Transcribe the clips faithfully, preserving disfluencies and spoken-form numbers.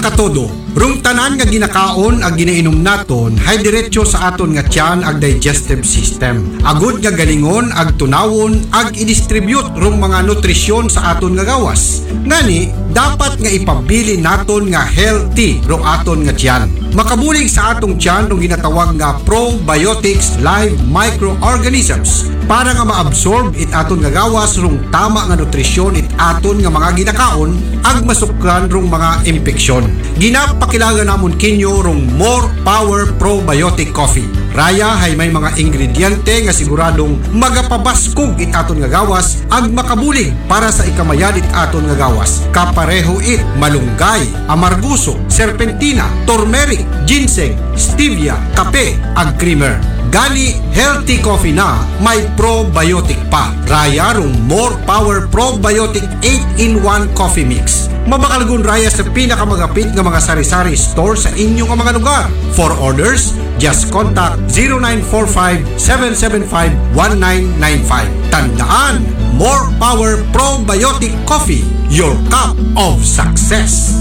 Todo, rong tanan nga ginakaon ag ginainom naton hay diretso sa aton nga tiyan ag digestive system. Agod nga galingon ag tunawon ag i-distribute rong mga nutrisyon sa aton nga gawas. Ngani, dapat nga ipabilin naton nga healthy rong aton nga tiyan. Makabulig sa atong tiyan rong ginatawag nga probiotics live microorganisms para nga maabsorb it aton nga gawas rong tama nga nutrisyon it aton nga mga ginakaon ag masukran rong mga impeksyon. Ginapakilaga namon kinyo rong More Power Probiotic Coffee. Raya hay may mga ingrediente nga siguradong magapabaskog it aton nga gawas ag makabulig para sa ikamayad it aton nga gawas. Kapareho it malunggay, amarguso, serpentina, turmeric, ginseng, stevia, kape, ag creamer. Gani, healthy coffee na may probiotic pa. Raya rong More Power Probiotic eight-in-one Coffee Mix. Mabakal gun raya sa pinakamagapit nga mga sari-sari store sa inyo nga mga lugar. For orders, just contact zero nine four five, seven seven five, one nine nine five. Tandaan, More Power Probiotic Coffee, your cup of success.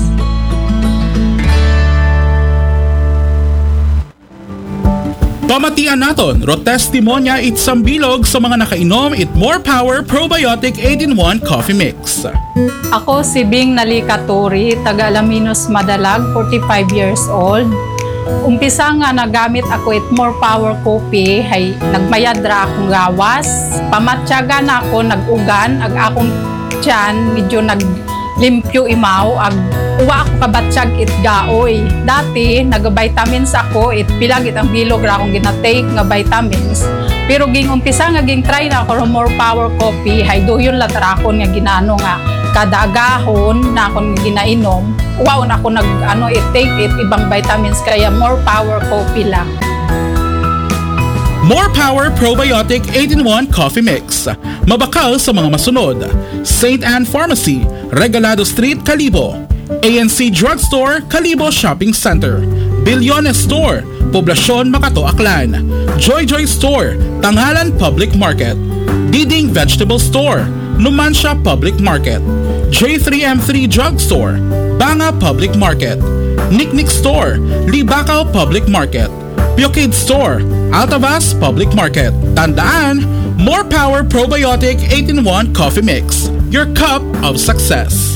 Pamatian naton, ro testimonya it sambilog sa mga nakainom it More Power Probiotic eight-in-one Coffee Mix. Ako si Bing Nalikaturi, taga Alaminos, Madalag, forty-five years old. Umpisa nga nagamit ako it More Power Coffee, hay nagmayad ra akong gawas. Pamatyagan ako, nag-ugan, ag akong tiyan, medyo naglimpyo imaw, ag uwa ako kabatyag it gaoy. Dati, nag-vitamins ako, it pila gid ang bilog ra akong ginatake nga vitamins. Pero ging umpisa nga ging try na ako rong More Power Coffee, hay duyon la ta ra akon nga ginaano nga kada agahon na akon ginainom. Waon ako nag, ano, it take it ibang vitamins, kaya More Power Coffee lang. More Power Probiotic eight-in-one Coffee Mix. Mabakal sa mga masunod: Saint Anne Pharmacy, Regalado Street, Kalibo. A N C Drugstore, Kalibo Shopping Center. Bilyones Store, Poblacion, Makato, Aklan. Joy Joy Store, Tangalan Public Market. Diding Vegetable Store, Numancia Public Market. J three M three Drugstore, Banga Public Market. Niknik Store, Libacao Public Market. Pure Kid Store, Altavas Public Market. Tandaan, More Power Probiotic eight-in-one Coffee Mix, your cup of success.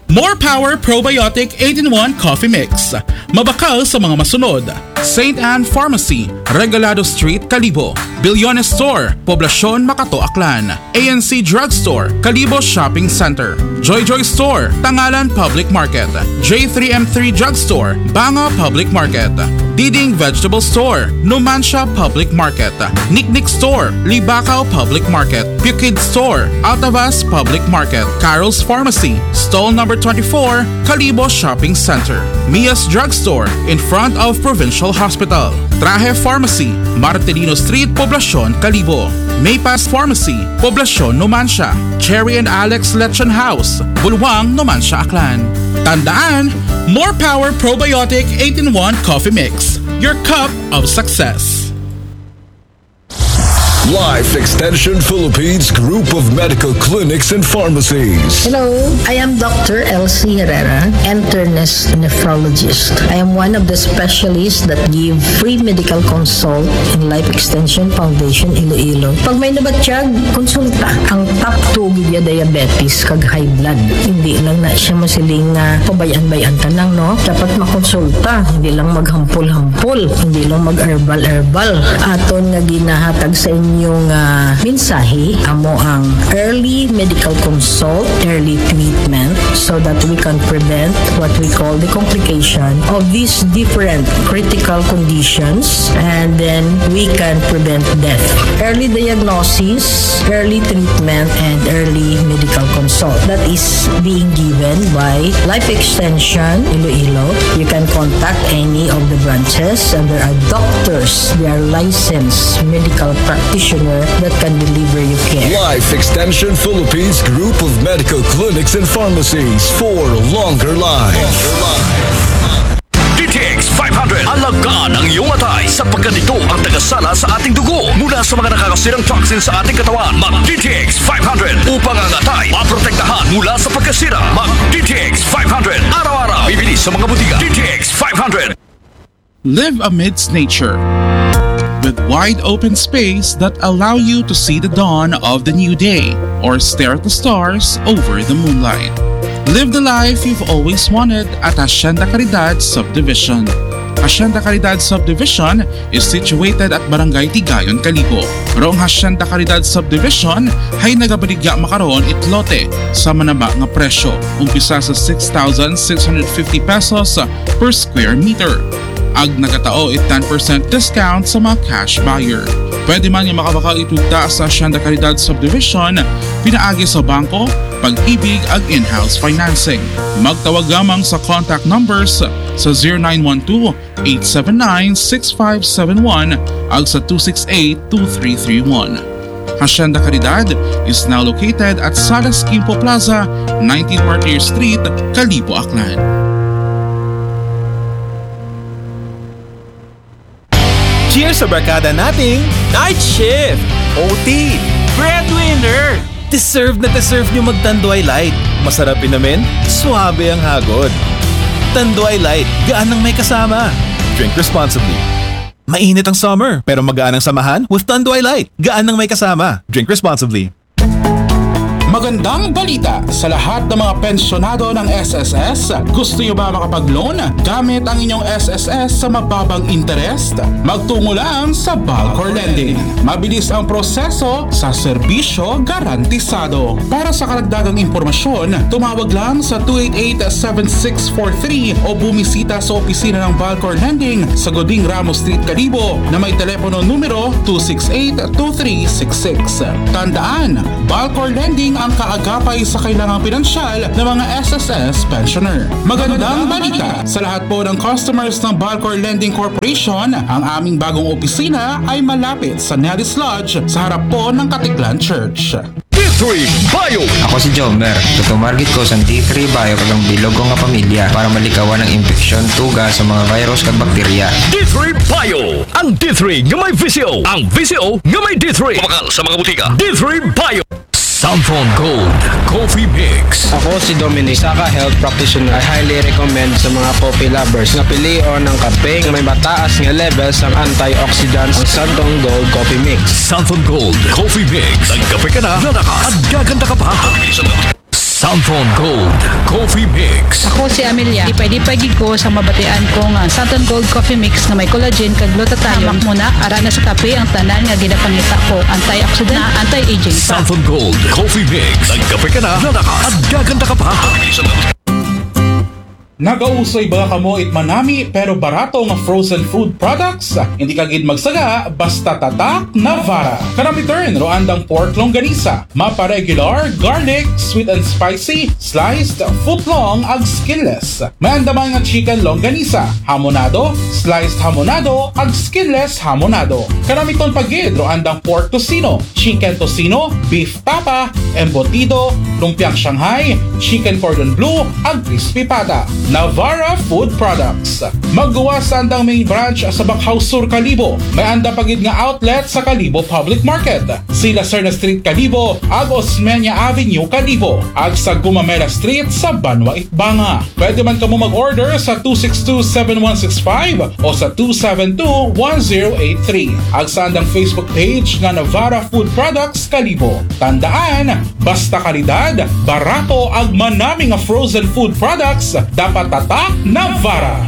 More Power Probiotic eight-in-one Coffee Mix. Mabakal sa mga masunod: Saint Anne Pharmacy, Regalado Street, Kalibo. Bilyones Store, Poblacion, Makato, Aklan. A N C Drugstore, Kalibo Shopping Center. Joy Joy Store, Tangalan Public Market. J three M three Drugstore, Banga Public Market. Diding Vegetable Store, Numancia Public Market. Niknik Store, Libacao Public Market. Pure Kid Store, Altavas Public Market. Carol's Pharmacy, stall number twenty-four, Kalibo Shopping Center. Mia's Drugstore, in front of Provincial Hospital. Traje Pharmacy, Marcelino Street, Poblacion, Kalibo. Maypass Pharmacy, Poblacion, Numancia. Cherry and Alex Lechon House, Bulwang, Numancia, Aklan. Tandaan, More Power Probiotic eight-in-one Coffee Mix, your cup of success. Life Extension Philippines Group of Medical Clinics and Pharmacies. Hello, I am Doctor Elsie Herrera, internist nephrologist. I am one of the specialists that give free medical consult in Life Extension Foundation Iloilo. Pag may nabatyag, konsulta. Ang top two gid ya diabetes kag high blood. Hindi lang na siya masiling nga pabay-an-bay-an ta lang, no? Dapat makonsulta, hindi lang maghampol-hampol, hindi lang mag-herbal-herbal. Aton nga ginahatag sa inyo nga mensahe, amo ang early medical consult, early treatment, so that we can prevent what we call the complication of these different critical conditions, and then we can prevent death. Early diagnosis, early treatment, and early medical consult. That is being given by Life Extension Iloilo. You can contact any of the branches, and there are doctors, they are licensed medical practitioner that can deliver you care. Life Extension Philippines Group of Medical Clinics and Pharmacies for longer life. D T X five hundred. Alagaan ang iyong atay sapagkat ito ang tagasala sa ating dugo mula sa mga nakakasirang toxin sa ating katawan. Mag D T X five hundred upang ang atay maprotektahan mula sa pagkasira. Mag D T X five hundred. Mga butika, D T X five hundred. Live amidst nature, with wide open space that allow you to see the dawn of the new day or stare at the stars over the moonlight. Live the life you've always wanted at Hacienda Caridad Subdivision. Hacienda Caridad Subdivision is situated at Barangay Tigayon, Kalibo. Roong Hacienda Caridad Subdivision ay nagabaligya makaroon it lote sa manaba nga presyo, umpisa sa six thousand six hundred fifty pesos per square meter. Ag nagatao it ten percent discount sa mga cash buyer. Pwede man nga makabakal itugta sa Hacienda Caridad Subdivision pinaagi sa bangko, pag-ibig ag in-house financing. Magtawag lamang sa contact numbers sa zero nine one two, eight seven nine, six five seven one ag sa two six eight, two three three one. Hacienda Caridad is now located at Salas Quimpo Plaza, nineteen Martyr Street, Kalibo, Aklan. Cheers sa barkada nating night shift, O T, breadwinner. Deserve na deserve nyo mag Tanduay Light. Masarap inumin, suabe ang hagod. Tanduay Light, gaan ng may kasama. Drink responsibly. Mainit ang summer, pero magaan ang samahan with Tanduay Light. Gaan ng may kasama. Drink responsibly. Magandang balita sa lahat ng mga pensyonado ng S S S. Gusto nyo ba makapag-loan gamit ang inyong S S S sa mababang interest? Magtungo lang sa Balcor Lending. Mabilis ang proseso sa serbisyo garantisado. Para sa karagdagang impormasyon, tumawag lang sa two eight eight, seven six four three o bumisita sa opisina ng Balcor Lending sa Goding Ramos Street, Kalibo na may telepono numero two six eight, two three six six. Tandaan, Balcor Lending ang kaagapay sa kailangang pinansyal ng mga S S S pensioner. Magandang balita sa lahat po ng customers ng Balcor Lending Corporation. Ang aming bagong opisina ay malapit sa Nelly's Lodge sa harap po ng Katiklan Church. D three Bio. Ako si Jomer. Tutumarget ko sa D three Bio kag ang bilog ko nga pamilya para malikawan ang impeksyon, tuga sa mga virus kag bakterya. D three Bio. Ang D three nga may V C O. Ang V C O nga may D three. Mabakal sa mga butika. D three Bio. Santhon Gold Coffee Mix. Ako si Dominic, isa ka health practitioner. I highly recommend sa mga coffee lovers na pilion ang kape nga may mataas nga level sa antioxidants, ang Santhon Gold Coffee Mix. Santhon Gold Coffee Mix. Nagkape ka na, lalakas at gaganda ka pa. Santhon Gold Coffee Mix. Ako si Amelia. Di pwede pwede ko sa mabatian ko nga Santon Gold Coffee Mix nga may collagen kag glutathione. Hamak muna, ara na sa kape ang tanan nga ginapangita ko. Antioxidant na anti-aging pa. Santhon Gold Coffee Mix. Nagkape ka na, lalakas at gaganda ka pa. Nagausoy ba kamo it manami pero barato nga frozen food products? Hindi ka gid magsaga basta tatak Navara. Kanami turn ro andang pork longganisa, mapa regular, garlic, sweet and spicy, sliced, foot long ag skinless. May andaman nga chicken longganisa, hamonado, sliced hamonado ag skinless hamonado. Kanami ton pa gid ro andang pork tocino, chicken tocino, beef tapa, embutido, lumpiang Shanghai, chicken cordon bleu, ag crispy pata. Navara Food Products. Magguwas sa andang main branch sa Bacau Sur, Kalibo. May anda pa gid nga outlet sa Kalibo Public Market, Sila Serna Street, Kalibo, ag Osmeña Avenue, Kalibo, ag sa Gumamela Street sa Banwa, Itbanga. Pwede man kamo mag-order sa two six two, seven one six five o sa two seven two, one zero eight three. Ag sa andang Facebook page nga Navara Food Products Kalibo. Tandaan, basta kalidad, barato ag manami nga frozen food products, dapat tatak Navara.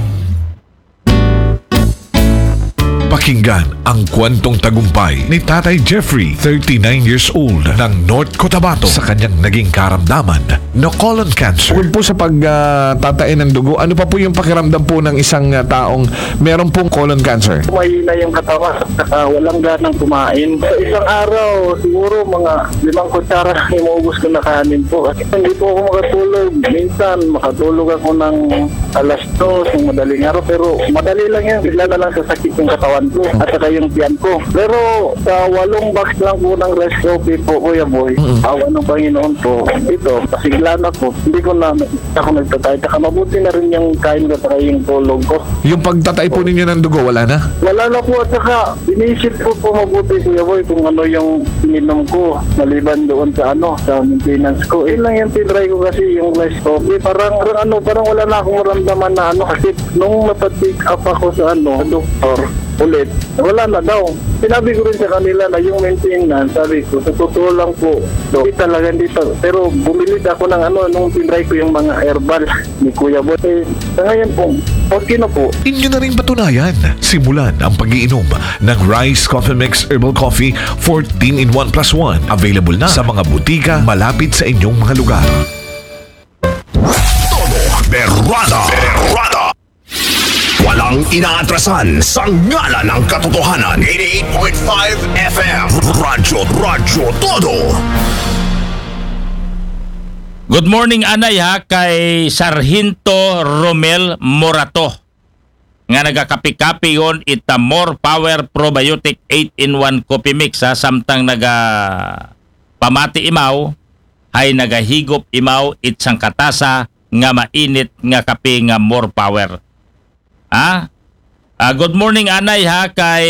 Pakinggan ang kwentong tagumpay ni Tatay Jeffrey, thirty-nine years old, ng North Cotabato, sa kanyang naging karamdaman na colon cancer. Bukod po sa pagtatain ng dugo, ano pa po yung pakiramdam po ng isang ah, taong meron pong colon cancer? Mahina yung katawan, saka walang ganang kumain. Sa isang araw, siguro mga limang kutsara lang yung maubos ko na kanin po. Kasi hindi po ako makatulog. Minsan, makatulog ako ng alas dos ng madaling araw, pero madali lang yan. Bigla na lang sasakit yung katawan ko at saka yung tiyan ko. Pero sa walong box lang po ng Rice Coffee po, Kuya Boy, awa ng Panginoon po, ito, pasigla na po. Hindi ko na ako nagtatay. Saka mabuti na rin yung kain ko saka yung tulog ko. Yung pagtatay po ninyo ng dugo, wala na? Wala na po, at saka inisip ko po mabuti, Kuya Boy, kung ano yung ininom ko maliban doon sa ano, sa maintenance ko. Yun lang yung tinry ko kasi yung Rice Coffee. Parang, parang ano, parang wala na akong Naman na ano, kasi nung napatik up ako sa ano, sa doktor, ulit, wala na daw. Sinabi ko rin sa kanila na yung maintenance, sabi ko, sa totoo lang po, Dok, hindi talaga, hindi pa. Pero bumili ako ng ano, nung tinry ko yung mga herbal ni Kuya Boy. Eh, sa ngayon po, okay na po. Inyo na rin patunayan. Simulan ang pag-iinom ng Rice Coffee Mix Herbal Coffee fourteen in one plus one. Available na sa mga butika malapit sa inyong mga lugar. Todo Berrada. Berrada. Walang inaatrasan sa ngalan ng katotohanan. Eighty-eight point five F M. Radyo, Radyo Todo. Good morning, anay, ha, kay Sargento Romel Morato nga nagakapi-kapi yon ita More Power Probiotic eight in one Coffee Mix, ha, samtang naga pamati imaw, hay nagahigop imaw it sangkatasa nga mainit nga kape nga More Power. Ha? Ah, good morning, anay, ha, kay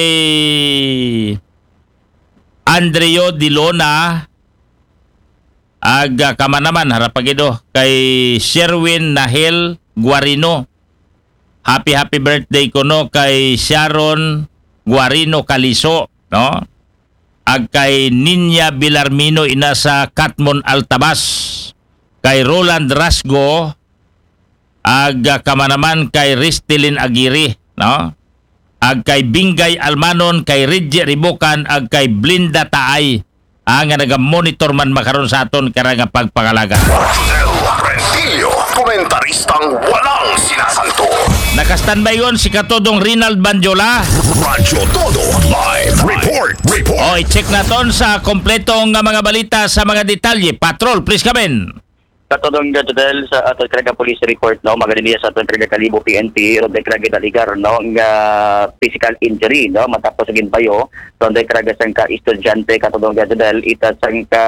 Andrio Dilona, ag, ah, kamanaman, harapagido, kay Sherwin Nahel Guarino. Happy, happy birthday kuno kay Sharon Guarino Caliso, no? Ag kay Ninya Bilarmino, ina sa Katmon Altabas. Kay Roland Rasgo, ag, ah, kamanaman kay Ristelin Aguirre, no? Ag kay Bingay Almanon, kay Reggie Ribukan, ag kay Blinda Taay. Ah, nga naga-monitor man makaron sa aton karang pagpangalaga. Rodel Rentillo, komentaristang walang sinasanto. Naka-standby yon si Katodong Rinald Banjola. Radyo Todo live report. Report. O, i-check naton sa kompletong nga mga balita sa mga detalye. Patrol, please come in. Katodong Jodel, sa aton karang police report, no, magani sa aton karang Kalibo P N P, ron day karang gidaligar, no, nga physical injury, no, matapos sa ginbayo ron day karang sangka estudyante, Katodong Jodel, ita sangka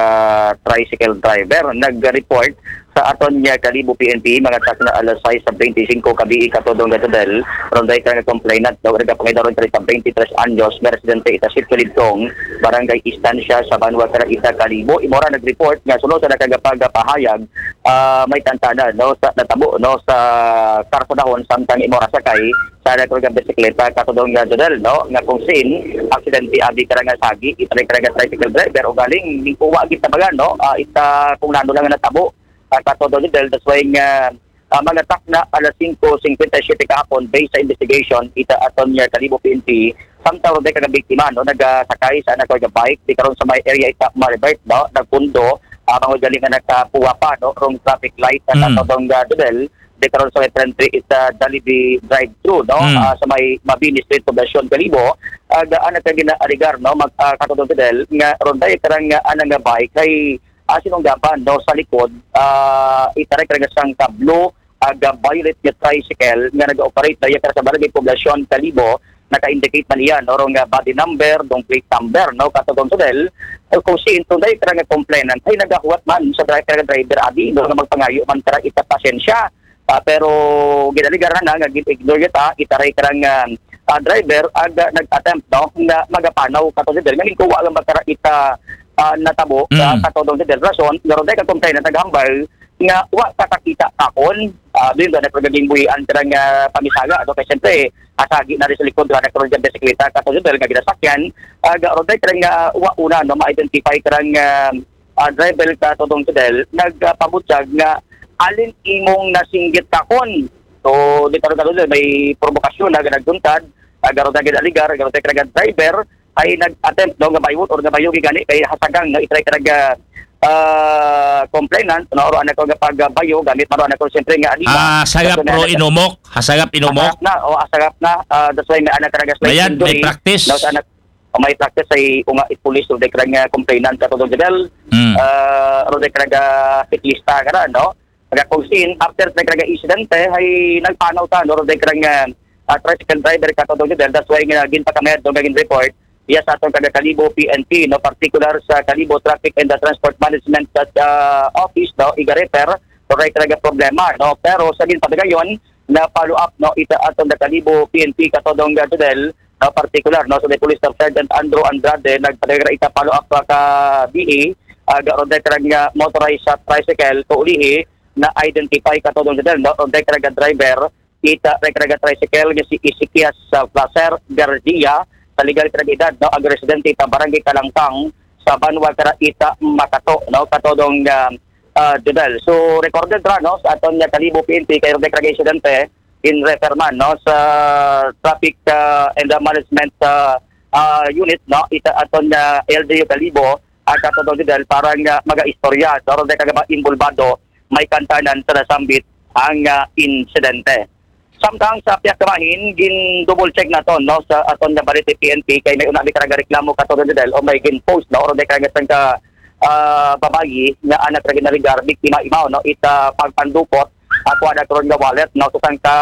tricycle driver. Nag-report sa aton nga Kalibo P N P, mga takna alas sais sa twenty-cinco kabii, Katodong Jodel, ron day karang complainant, no, nagapangidaron karang twenty-three anyos, nga residente ita Sitio Lidkong, Barangay Estancia sa Banwa, karang ita Kalibo. Imo ra nag-report nga sunod sa nakagapagapahayag, ah, may tantana, no, sa natabo, no, sa karsadahon, samtang imo ra sakay sa nagkarga bisikleta, Katodong Jodel, no, nga kung sin aksidente abi karang sagi, ita karang tricycle driver, ugaling wa gitabangan, no, ah, ita kung nano lang nga natabo, ah, Katodong Jodel. That's why nga, ah, mga takna alas singko singkwenta y siyete kahapon, based sa investigation ita aton nga Kalibo P N P, samtang ron day karang biktima, no, nagasakay sa anak nga bike, di karon sa may area ita Maribert, no, nagpundo, ah, mangod galing nga nakapuwa pa, no, rong traffic light na, mm, Katodong Jodel, di karon sa may frente ita Jollibee drive-thru, no, mm, ah, sa may Mabini Street, Poblacion, Kalibo. Ag, ah, anak nga ginaaligar, no, mag, ah, Katodong Jodel, nga ron day karang, ah, anak nga bike kay, ah, sinunggaban, no, sa likod, ah, ita karang sangka blue ag, ah, violet nga tricycle nga nag-operate daya karang sa Barangay Poblacion, Kalibo. Naka-indicate man iya, no, rong, ah, body number, rong plate number, no, Katodong Jodel. Eh, kung sin ron day karang complainant hay nagahuwat man sa dri-, karang driver abi, no, nga magpangayo man karang ita pasensya. Ah, pero gidaligar na nga gin-ignore ita, ita ray karang, ah, ah, driver, ag, ah, nag-attempt, no, nga magapanaw, Katodong Jodel, nga ginkuwa lang ba karang ita, ah, natabo, mm, ah, Katodong Jodel. Rason nga ron day karang complainant naghambal nga wa ta kakita kakon. Ah, diri ba na pagaging buhian karang, ah, pamisaga, no? Kay siyempre, asagi na rin sa likod, wala na karon dyan bisikleta, Katodong Jodel, nga ginasakyan. Ah, ron day karang, ah, wa una, no, ma-identify karang, ah, ah, driver, Katodong Jodel, nagpabutyag nga alin imong nasinggit kakon. So, di karon, Katodong Jodel, may provokasyon na nagduntad, ah, ron day ginaaligar, ron day karang driver, ay nag-attempt, no, nga bayuon or nga bayugi gani kay hasagang, no, ita karang, ah, complainant, no, ron anak nga pagbayo gamit man ron anak siyempre nga alima. Ah, sagap ro inumok, hasagap inumok. Hasagap na, o hasagap na, ah, that's why may anak karang slight injury. Mayad, may practice. No, sa anak, o may practice ay unga it police, ron day karang, ah, complainant, Katodong Jodel. Mm. Ah, ron day karang, ah, siklista ka na, no? Pagka kung sin, after sa karang insidente, ay nagpanaw ta, no, ron day karang, ah, ah, tricycle driver, Katodong Jodel. That's why nga ginpakamayad, no, nga gin-report iya sa aton karang Kalibo P N P, no, particular sa Kalibo Traffic and the Transport Management, ah, Office, no, iga-refer, ron day karang problema, no. Pero sa ginpadayon nga follow up, no, ita aton Kalibo P N P, Katodong Jodel, no, particular, no, sa Police Staff Sergeant Andrew Andrade, nagpadagara ita follow up pa ka B A, ah, ron day karang, ah, motorized sa tricycle, kaulihi, na-identify kato, Dong Jodel, no? Ang karaga driver, ita karaga tricycle nga si Ezekias, ah, Placer Garcia, sa legal karaga edad, no? Ang residente ita Barangay Kalangkang, sa banwa kara ita Makato, no? Kato, Dong, ah, ah, Jodel. So, recorded ra, no? Sa aton nga Kalibo P N P, kay karaga insidente, in refer man, no? Sa traffic, ah, and, ah, management, ah, ah, unit, no? Ita aton nga L G U Kalibo, ah, kato, Dong Jodel, para nga maga-istorya, no? Karaga involbado, may kantanan sa nasambit ang, ah, insidente. Samtang sa piyak kamahin, gin-double check naton, no, sa aton nga Balete P N P, kay may una bi karaga reklamo kato, Dong Jodel, o may gin-post, no, o may karaga sangka, ah, babayi nga anak karaga narigar, biktima imaw, no, ita pagpandukot, ako anak ron nga wallet, no, sa sangka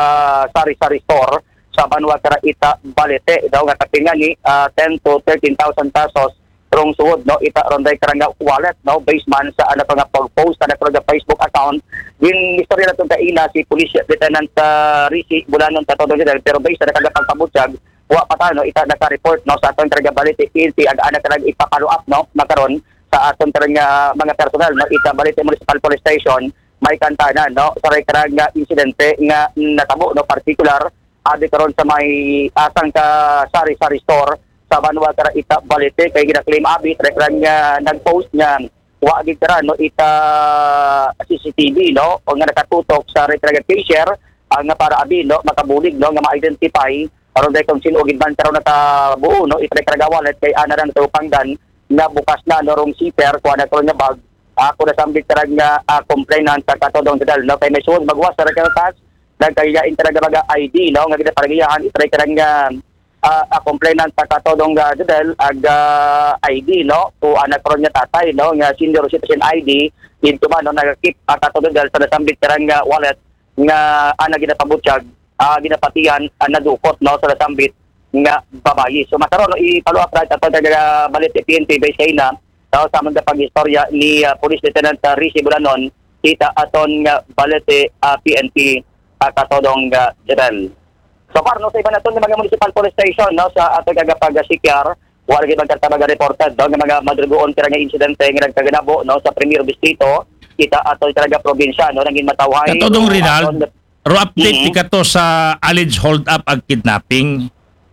sari-sari store sa banwa kara ita Balete, daw nga kapin ngani, ah, ten to thirteen thousand pesos, rong suod, no, ita ron day karanga wallet, no, based man sa anak nga pag-post sa anak nga Facebook account. Gin-istorya naton kaina si Police Lieutenant, ah, Ricky Bulanon kato, Dong Jodel, pero based sa anak nga pagpabutyag, wa pa ta, no, ita naka-report, no, sa aton karaga Balete P N P, ag anak karag ipa-follow up, no, makaron sa aton karaga mga personal, no, ita Balete Municipal Police Station, may kantanan, no, sa karaga insidente nga natabo, no, particular abi karon sa may asang ka sari-sari store sa banwa kara ita Balete, kay gina-claim abi, karaga nga nag-post nga wa gid kara, no, ita C C T V, no, o nga nakatutok sa karaga cashier, ang nga para abi, no, makabulig, no, nga ma-identify aron day kung sino gid man karon nakabuo, no, ita karaga wallet, kay ana lang sa upangdan nga bukas na, no, rong zipper, kuha na karon nga bag, ako nasambit karaga, ah, complainant sa kato, Dong Jodel, no, kay may suod magwas sa karaga tas nagkagigain karaga mga I D, no, nga ginaparagiyahan, ita karaga, ah, ah, complainant sa kato, Dong, ah, Jodel, ag, ah, I D, no, o anak ron nga tatay, no, nga senior citizen I D, dito man, no, nagakip, ah, kato, Dong Jodel, sa nasambit karaga wallet nga ana ginapabutyag, ah, ginapatihan, ah, nadukot, no, sa nasambit nga babayi. So, masaro, no, i-follow up ra aton karaga Balete P N P base kaina, no, sa mga pag-istorya ni, ah, Police Lieutenant, ah, Ricky Bulanon, ita aton nga Balete, ah, P N P, ah, kato, Dong, ah, Jodel. So far, no, sa iba naton nga mga municipal police station, no, sa aton karaga pag-sikyar, wala gid man karaga reported, no, nga mga madrugoon karaga insidente nga nagkaganabo, no, sa Premier Distrito, ita aton karaga probinsya, no, nangin matawhay, Kato, Dong, no, Rinald, aton ro update Mhm. ti kato sa alleged hold up ag kidnapping.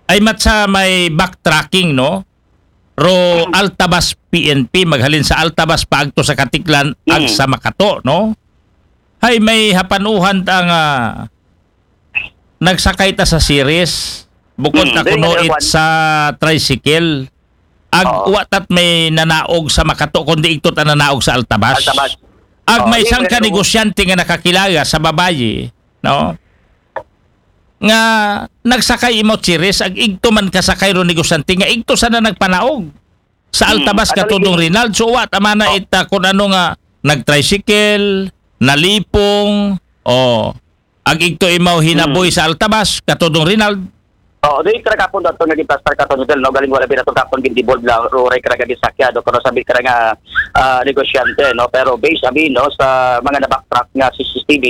Ay mat sa may backtracking, no? Ro Altabas P N P, maghalin sa Altabas paagto sa Katiklan ag Mhm. sa Makato, no? Hay may hapanuhan ta nga nagsakay ta sa Ceres, bukod Mm, ta dili kuno nga it kuwan. Sa tricycle. Ag Oo. Wa tat may nanaog sa Makato, kundi igto ta nanaog sa Altabas. Altabas. Ag Oo, may dili sangka nga negosyante nga nakakilala sa babayi, no? Nga nagsakay imo Ceres, ag igto man kasakay ro negosyante nga igto sana nagpanaog sa Hmm, Altabas, kato, Dong Rinald. So, wa ta man na ita kun ano nga nag-tricycle, nalipong, o ag igto imaw hinaboy Hmm. sa Altabas kato, Dong Rinald. Oo, di kara kapon dato nga giplastar kato, Dong Rinald, no? Galing wala binato kapon gin-devolve la, ruray kara gadi sakya, do, kuno sabi kara nga, ah, negosyante, no? Pero based abi, no, sa mga na-backtrack nga C C T V,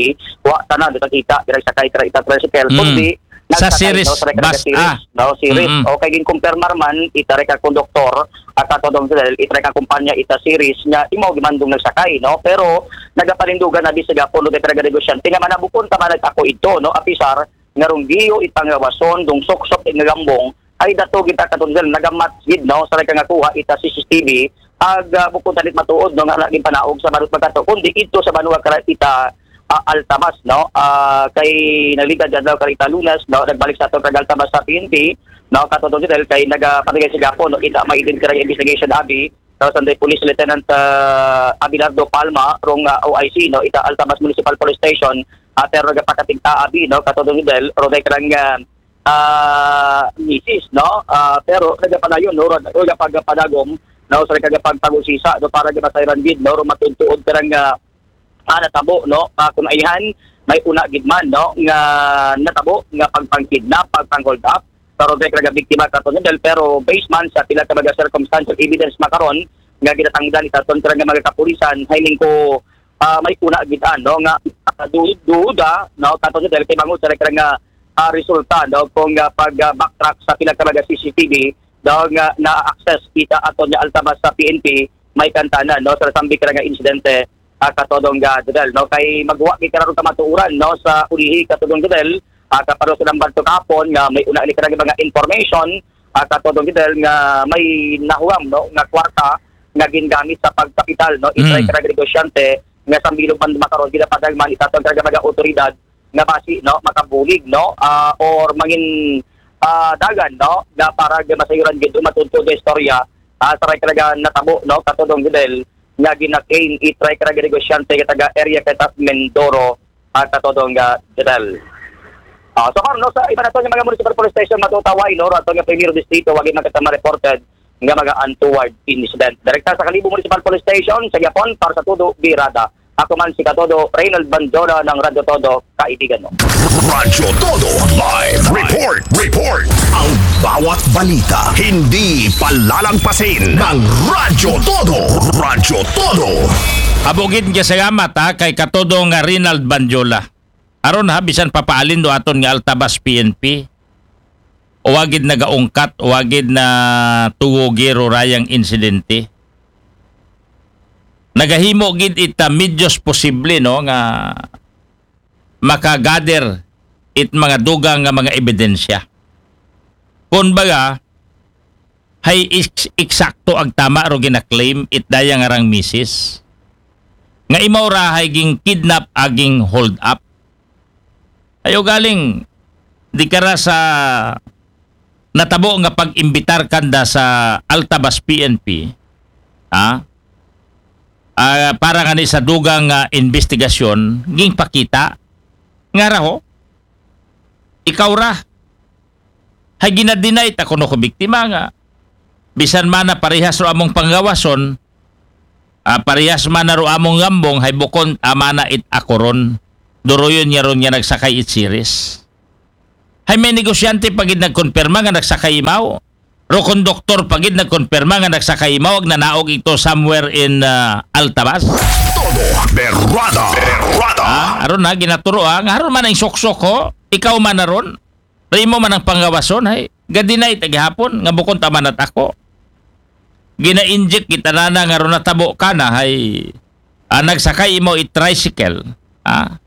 wa tanan di kita, direct sakay kara ita tricycle, Hmm. Kundi Sa nagsakay, Ceres no, sa bus, Ceres, ah. No, Ceres. Mm-mm. O kay ginkumpirmar man, ita karaga konduktor, at sa todong sila, ita karaga kumpanya, ita Ceres, nga imo gimandong nagsakay, no? Pero nagapanindugan na bisag apon, no, karaga negosyante, nga manabukon ta man nagtako ito, no? Apisar, nga rong giyo, ipangawason, dong suksok, nga gambong, ay dato kita katong sila, nagamat gid, no? Sa karaga nga kuha, ita C C T V, ag, ah, bukon tanit matuod, no, nga naging panaog sa banwa pagkato, kundi ito sa banwa kara ita, ah, Altabas, no? Ah, kay nagligad adlaw karita Lunes, no? Nagbalik sa atong kag Altabas sa P N P, no? Katong Dong Jodel kay nagapatigay sa gapon, no? Kita may din kay investigation abi, no? Sunday Police Lieutenant, ah, Abelardo Palma, rong, ah, O I C, no? Ita Altabas Municipal Police Station, ah, pero nagapakatigta abi, no? Katong Dong Jodel, ro day karang, ah, ah, misis, no? Ah, pero nagapanayon, no? Ro, ro pagpadagom, no? Sa nagapagpag-usisa, no? Para gamasayran gid, no? Ro matuntuod karang, ah, ah, natabo, no? Ah, kun ayhan, may una gid man, no, nga natabo nga pagpangkidnap, pagpang-hold up, pero kay karaga biktima kato Dong Jodel, pero based man sa pila ka mga circumstantial evidence makaron nga ginatangdan itaton karaga mga kapulisan, hay ning ko, ah, may una gid, ano, nga, ah, du-, duda, no, kato Dong Jodel kay bangod sa karaga, ah, resulta, no, kung, ah, pag, ah, backtrack sa pila ka mga C C T V, daw nga na-access kita aton nga Altabas sa P N P, may kantanan, no, sa nasambit karaga insidente, ah, katodong, ah, Jodel, no? Kay magwa gid kara rong kamatuoran, no, sa ulihi, katodong Jodel, ah, kapado sa nambag to kahapon nga may una ni kara nga mga information, ah, katodong Jodel, nga may nahuwam, no, nga kwarta nga gingamit sa pagkapital, no, itry, mm, kara nga negosyante nga sa bilog man makaron, ginapadagman itaton kara nga mga otoridad nga basi, no, makabulig, no, ah, or mangin, ah, dagan, no, nga para nga masayuran gid umatunto nga istorya, ah, sa ray kara nga natabo, no, katodong Jodel, nga gina-claim itry kara nga negosyante nga taga area kay tas Mindoro, ah, katodong, ah, Jodel. Ah, so karon, no, sa iba naton nga mga municipal police station, matutaway, no, aton nga primero distrito, wa gid man kay tama reported nga mga untoward incident. Direkta sa Kalibo Municipal Police Station, sa gihapon, para sa Todo Birada. Ako man si Katodo, Reynald Banjola ng Radyo Todo, kaibigan mo. Radyo Todo Live Report. Report. Ang bawat balita, hindi palalagpasin ng Radyo Todo. Radyo Todo. Amo gid nga salamat, ha, kay Katodo nga Reynald Banjola. Aron, ha, bisan papaalin do aton nga Altabas P N P, o wa gid nagaungkat, o wa gid natugugi ro rayang insidente. Nagahimo gid ita medyos posible, no, nga makagather it mga dugang nga mga ebidensya. Kun baga, hay eks-, eksakto ag tama ro gina-claim it daya nga rang misis nga imaw ra hay ging-kidnap aging hold up. Ayo galing, di kara sa natabo nga pag-imbitar kanda sa Altabas P N P, ha? Ah, para ngani sa dugang nga investigasyon, gingpakita nga raho, ikaw ra. Hay gina-deny ta kuno ko biktima nga bisan man na parehas ro among panggawason, ah, parehas man na ro among ngambong, hay bukon ama na it ako ron. Duruyon niya ron nga nagsakay it series. Hay may negosyante pa gid nagkonpirma nga nagsakay imaw. Ro konduktor pa gid nagkonpirma nga nagsakay imaw ag nanaog ito somewhere in, ah, Altabas. Todo Berrada. Berrada. Ah, aron na ginaturo, ah, nga aron man ang suksok ho, ikaw man na ron. Rimo man ang pangawason, hay. Gadinay ta gihapon nga bukon ta man at ako. Gina-inject kita na nga ron natabo ka na, hay. Ah, nagsakay imaw it tricycle, ah,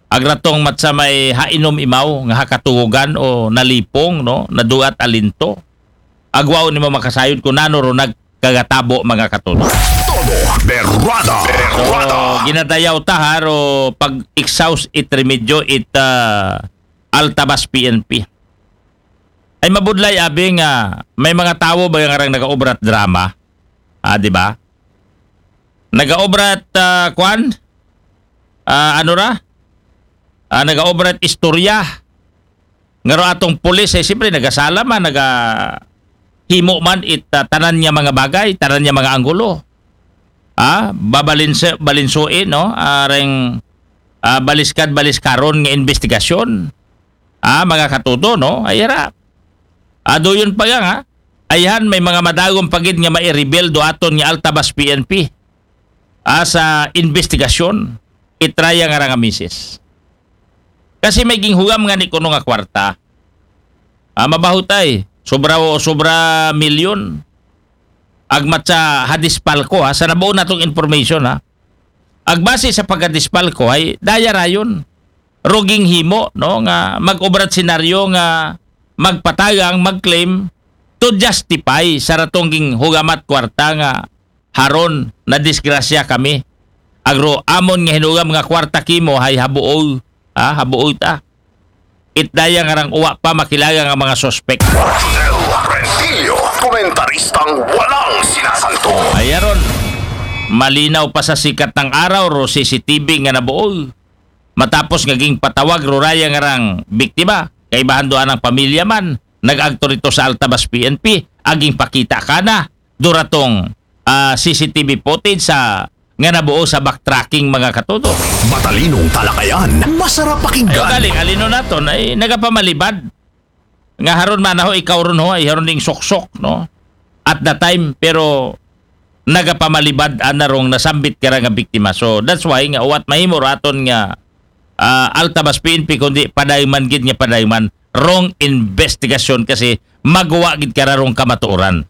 agratong matsa may hainom imaw nga hakatugugan o nalipong, no, naduat alinto. Agwaon nimo makasayod kung nano ro nagkagatabo, mga katulo. Todo Berrada. So, Berrada. Ginadayaw ta ha ro pag-exhaust it remedyo it, ah, Altabas P N P. Ay mabudlay abi nga may mga tawo ba nga rang nagaobrat drama? Ah, di ba? Nagaobrat, ah, kwan? Ah, ano ra? Ah, nagaobrat istorya. Nga ro atong pulis, eh, siyempre, nagasala man, naga himo man it, ah, tanan niya mga bagay, tanan niya mga anggulo. Ah, babalinse-, balinsuin, no? Ah, reng, ah, baliskad-baliskaron nga investigasyon. Ah, mga katudo, no? Ay, ra. Aduyon pa nga, ha? Ayhan, may mga madagom pa gid nga maireveal do aton nga Altabas P N P. Ah, sa investigasyon, itraya nga ra nga misis. Kasi may ginhugam nga ni kuno nga kwarta. Ah, mabahutay, sobra o sobra milyon. Agmat sa hadispalko, ha, sa nabuo natong information, ha. Agbase sa pagkadispalko, ay daya rayon. Ruging himo, no, nga mag-obrat senaryo nga magpatagang, mag-claim to justify sa ratong ginhugamat kwarta nga haron na disgrasya kami. Agro amon nga hinugam nga kwarta kimo hay habuol, ha, habuol ta. Itdaya nga rang uwa pa makilala nga mga suspek. Rodel Rentillo, komentaristang walang sinasanto. Ayaron, malinaw pa sa sikat ng araw ro C C T V nga nabuol. Matapos nga ging patawag ro raya nga rang biktima, kaibahan doan ang pamilya man, nag-agto rito sa Altabas P N P, aging pakita kana, duratong, ah, C C T V footage sa nga nabuo sa backtracking, mga katuto. Matalinong talakayan, masarap pakinggan. Ayo galing, alino naton ay nagapamalibad. Nga haron man ho, ikaw ron ho, ay haron ding suksok, no? At the time, pero nagapamalibad ana rong nasambit kara nga biktima. So, that's why nga uwat mahimo raton nga, ah, Altabas P N P, kundi padayman gid nga padayman rong investigasyon kasi magawa gid kara rong kamatuoran.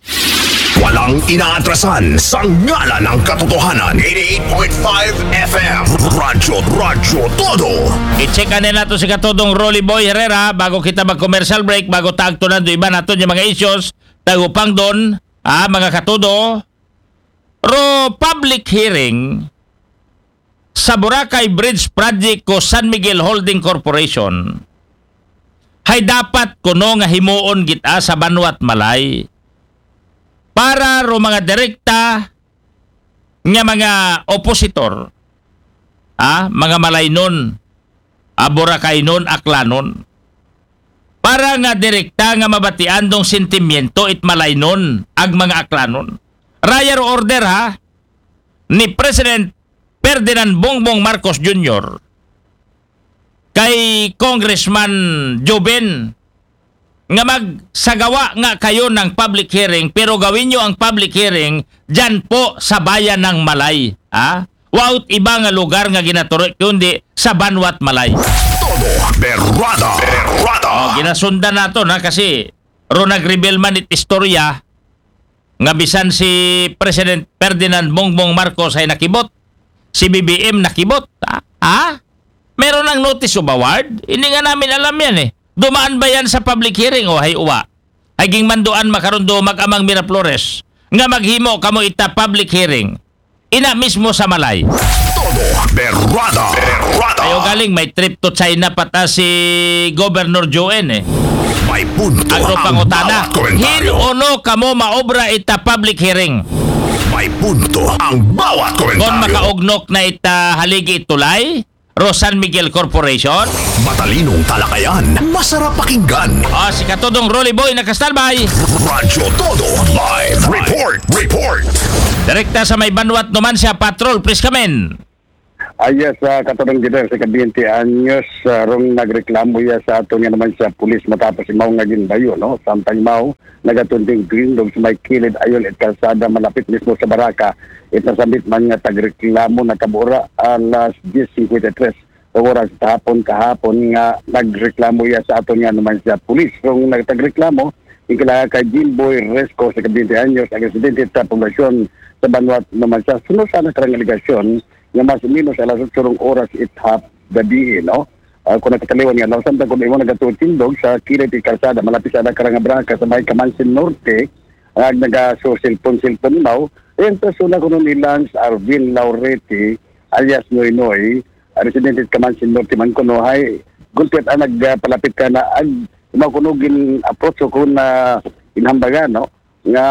Walang inaatrasan sa ngalan ng katotohanan. Eighty-eight point five F M. Radyo, Radyo Todo. I-check na nato si katodong Rolly Boy Herrera bago kita mag-commercial break, bago taagtunan do iba nato yung mga issues, tagupang doon, ah, mga katodo, ro public hearing sa Boracay Bridge Project ko San Miguel Holding Corporation, hay dapat kuno nga himuon gid, ah, sa banwat malay para ro mga direkta nga mga opositor, ah, mga malaynon, ah, Boracaynon, Aklanon, para nga direkta nga mabatian dong sentimiento it malaynon ag mga Aklanon. Raya ro order, ha, ni President Ferdinand Bongbong Marcos Junior kay Congressman Joven nga magsagawa nga kayo ng public hearing, pero gawin nyo ang public hearing dyan po sa bayan ng Malay. Ha? Without iba nga lugar nga ginaturo, kundi sa banwat Malay. Todo Berrada. Berrada. Oh, ginasundan nato na kasi ro nag-reveal man it istorya nga bisan si President Ferdinand Bongbong Marcos ay nakibot, si B B M nakibot. Ha? Ha? Meron ng notice of award? Hindi nga namin alam yan eh. Dumaan ba yan sa public hearing o hay uwa? Ay ging manduan makaroon do mag-amang Miraflores nga maghimo kamo ita public hearing. Ina mismo sa Malay. Todo Berrada. Berrada. Ayo galing, may trip to China pata si Governor Joen eh. May punto Ang ang pangutana, bawat komentaryo. Hin uno kamo maobra ita public hearing? May punto ang bawat Kon komentaryo. Makaugnok na ita haligi tulay, ro San Miguel Corporation? Matalinong talakayan, masarap pakinggan. Ah, si Katodong Rolly Boy nakastalbay. Radyo Todo Live Report. Report. Direkta sa may banwat naman siya, Patrol, please come in. Ah, yes, ah, katulong dito sa kabinti anyos, ah, rong nagreklamo ya sa ato nga naman siya pulis matapos imaw nga ginbayo, no? Samtang imaw, nagatunding grindog sa may kilid ayon it kalsada malapit mismo sa baraka. It nasambit man nga tagreklamo nakabura alas diyes singkwenta y tres oras sa hapon kahapon nga nagreklamo ya sa ato nga naman siya pulis. Rong nagtagreklamo, ikilala kay Jimboy Resco sa kabinti anyos, ang residente sa poblasyon sa Banwat naman siya. Sunod sa nakarang alegasyon, nga mas o menos alas otso rong oras it hap gabi, no? Ah, kung nakataliwan nga, law samtang kung imo nagatutindog sa kilid it kalsada, malapit sa nakarang nga baraka sa may Kamansin Norte, ang nagasusilpon-silpon imaw, yung persona kuno ni Lance Arvin Laureti, alias Noy Noy, ah, residente sa Kamansin Norte man kuno, hay, gulpit ang nagpalapit ka na, ag, imaw kuno gin-approach ko na inhambagan, no? Nga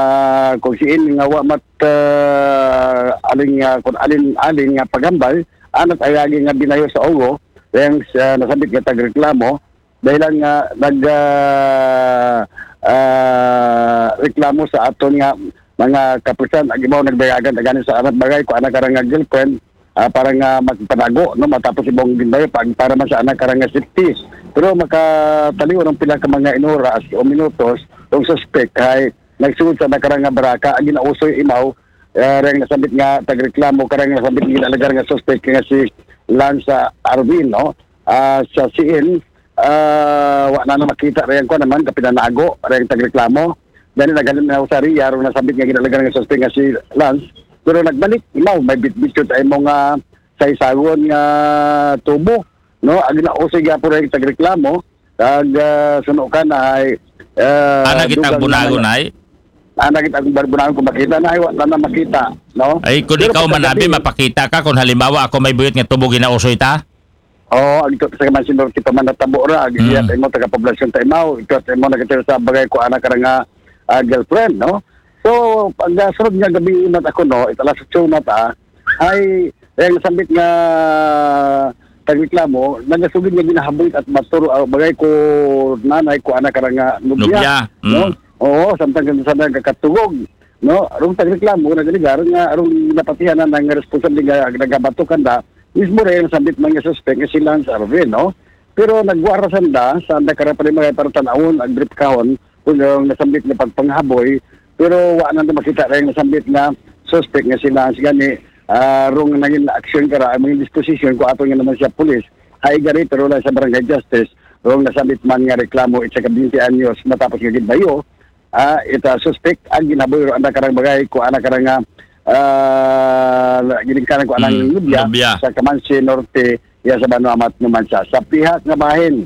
kung siin nga wa mat, ah, aling, ah, kung alin-alin nga pagambal, anat ayagi nga binayo sa ulo, yang sa nasambit nga tagreklamo, dahilan nga nag, ah, ah, reklamo sa aton nga mga kapulisan, ag ibaw nagdayagan, agani sa anak bagay, kung anak karang nga girlfriend, ah, para nga magpanago, no, matapos ibang ginbayo, pag, para man sa anak karang nga safety. Pero makataliw ng pila ka mga inoras o minutos, yung suspect ay nagsugod sa nakarang nga baraka, ang ginausoy imaw, ah, reng nasambit nga tagreklamo, karang nasambit nga ginalagar nga suspect nga si Lance, ah, Arvin, no? Ah, sa siin, ah, wa na na makita reng kuwan naman, kapinanago, reng tagreklamo. Dahil naghalin na sa riya, rong nasambit nga ginalagar nga suspect nga si Lance. Pero nagbalik, imaw, may bitbit yun tayo mga sa isagon nga tubo, no? Ang ginausoy nga po reng tagreklamo, Kag, ah, suno ka na ay, ah, Ana kita dugang bunagon naman. Ay? Ana kita ang bunagon kung makita na ay, wala na makita, no? Ay, kung Pero ikaw pagkagabi, manabi, mapakita ka kung halimbawa ako may buyot nga tubo ginausoy ta? Oo, ang ito sa man sinurti pa man natabo ra, ag Hmm. iya mo taga-poblasyon ta imaw, ito sa imo nagkatira sa bagay ko anak ka nga, ah, girlfriend, no? So, pag, ah, sunod nga gabi inat ako, no, italas sa tsunat, ah, ay, eh, ang sambit nga tagreklamo, nagasugid nga ginahaboy at maturo, ah, bagay ko nanay ko anak karang nga nubya, Nubya, no? Mm. Oo, samtang kan sa nagkakatugog, no? Arong tagreklamo, nagaligar nga arong napatihan na ng responsable nga nagabato kanda, mismo rin ang sambit man nga suspect nga si Lance Arvin, no? Pero nagwarasan da, sa anda karapali mga para tanawon, ang brief kahon, kung yung nasambit nga pagpanghaboy, pero wa na makita rin nasambit nga suspect nga si Lance gani, ah, rong nangin aksyon kara, ang mga disposition ko ato nga naman siya pulis, hay gari, pero lang sa barangay justice, rong nasambit man nga reklamo, it's a kabinti anyos, matapos nga ginbayo, ah, ita suspect ang ginabuhi ro anda karang bagay ko ana karang, ah, ah, ginikanan ko anang Mm, nobya nobya. Sa Camanche Norte, iya sa Banwa Amat Numancia. Sa pihak nga bahin,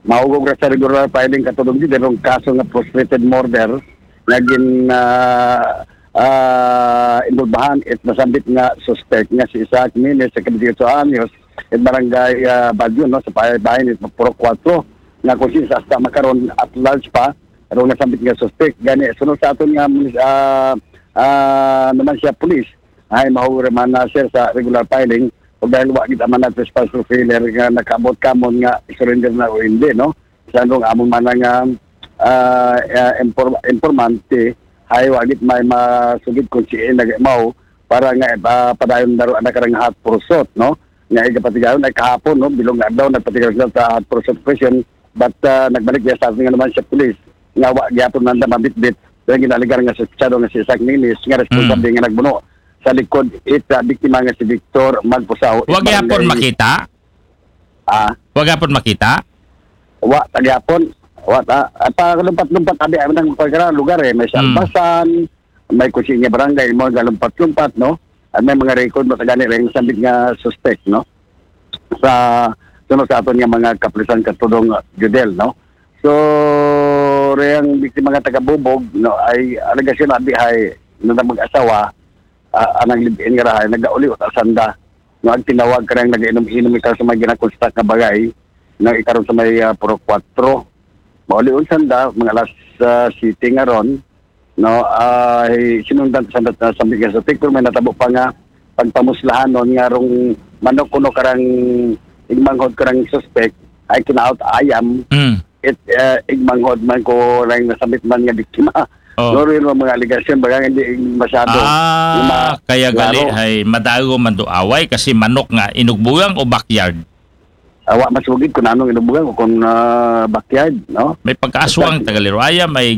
mahugog ra sa regular filing katulong di derong kaso nga frustrated murder nga gin ah, ah, involbahan it nasambit nga suspect nga si Isaac Minis sa kabidyoto anyos, it barangay ah, Badyo, no, sa pay bahin it Purok Kuwatro, nga kung siya hasta makaron at large pa rong nasambit nga suspect. Gani, sunod sa aton nga munis- ah, ah, Numancia Police, ay mahugog ra man na, sir, sa regular filing, ug dahil wa gid man na trespass to failure nga nakaabot kamon nga surrender na o hindi, no? Sa anong amon man nga ah, ah, inform- informante, ay wa gid may masugid kung si nagmao para nga ah, padayon na ro ana karang hot pursuit, no? Nga igapatigayon ay kahapon, no? Bilog nga adlaw nagpatigayon sila sa hot pursuit operation, but ah, nagbalik niya sa atin nga naman sa pulis nga wa gyapon man na mabitbit ang ginaaligar nga suspetsado nga si Isaac Minis nga responsable nga nagbuno sa likod it ah, biktima nga si Victor Magpusaw. Wa gyapon makita? Ah, Wa gyapon makita? Wa, tagyapon. Wa, ta, ah, palumpat-lumpat abi ang nang pagkara lugar eh. May Hmm. Salbasan, may Kusinya Barangay, mo galumpat-lumpat, no? At may mga record mo sa gani rin sambit nga suspect, no? Sa sunod sa aton nga mga kapulisan katulong ah, Judel, no? So, reyang biktima nga taga Bubog, no, ay alegasyon abi hay na mag-asawa, ah, anang live-in nga rahay, nagauli sa sanda. No, ang tinawag karang nagainom-inom ikaw sa mga ginakonstruct nga bagay, no, ikaron sa may ah, Purok Kuwatro. Mauli ang sanda, mga alas ah, siyete nga ron, no, ay sinundan sa sanda na sambit nga suspect, pero may natabo pa nga pagpamuslahanon nga rong manok kuno karang igmanghod karang suspect ay kinaot ayam, Mm. it uh, igmanghod man ko lang nasambit man nga biktima. Oh. No, rin ang mga alegasyon, baga hindi masyado. Ah, Ma- kaya gali klaro. Ay madago man do away kasi manok nga inugbugang o backyard? Awa masugid kung anong inubugan o kung ah, backyard, no? May pagkaaswang tagalirwaya, may